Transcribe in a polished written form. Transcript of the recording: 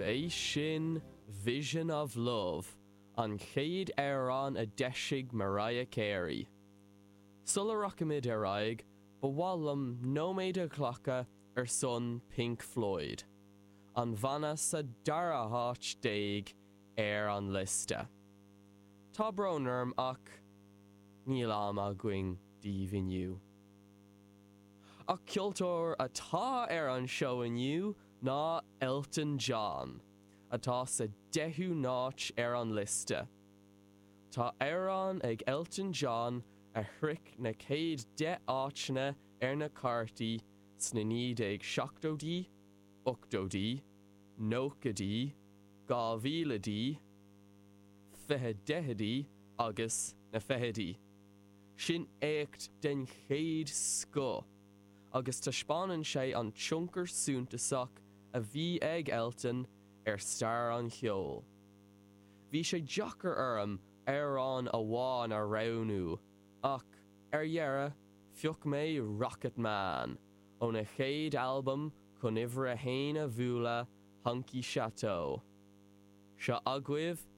B'é sin Vision of Love, an chéad amhrán a d'eisigh Mariah Carey. Sula rachaimid ar aghaidh, ba mhaith liom nóiméad a ghlacadh ar son Pink Floyd, an banna sa dara háit déag ar an liosta. Tá brón orm ach níl am againn daoibh inniu. Ach ceoltóir atá ar an seó inniu ná Elton John, atá sa deichiú háit ar an liosta. Tá amhrán ag Elton John a shroich na chéad 10 áiteanna ar na cártaí sna 1970idí, 80idí, 90idí, 2000idí, 2010idí agus na fichidí. Sin éacht den chéad scoth agus taispeánann sé an tionchar suntasach a bhí ag Elton ar stair an cheoil. Bhí sé deacair orm amhrán amháin a roghnú ach, ar dheireadh, phioc mé Rocketman óna chéad albam chun uimhir a haon a bhualadh, Honky Chateau. Seo agaibh.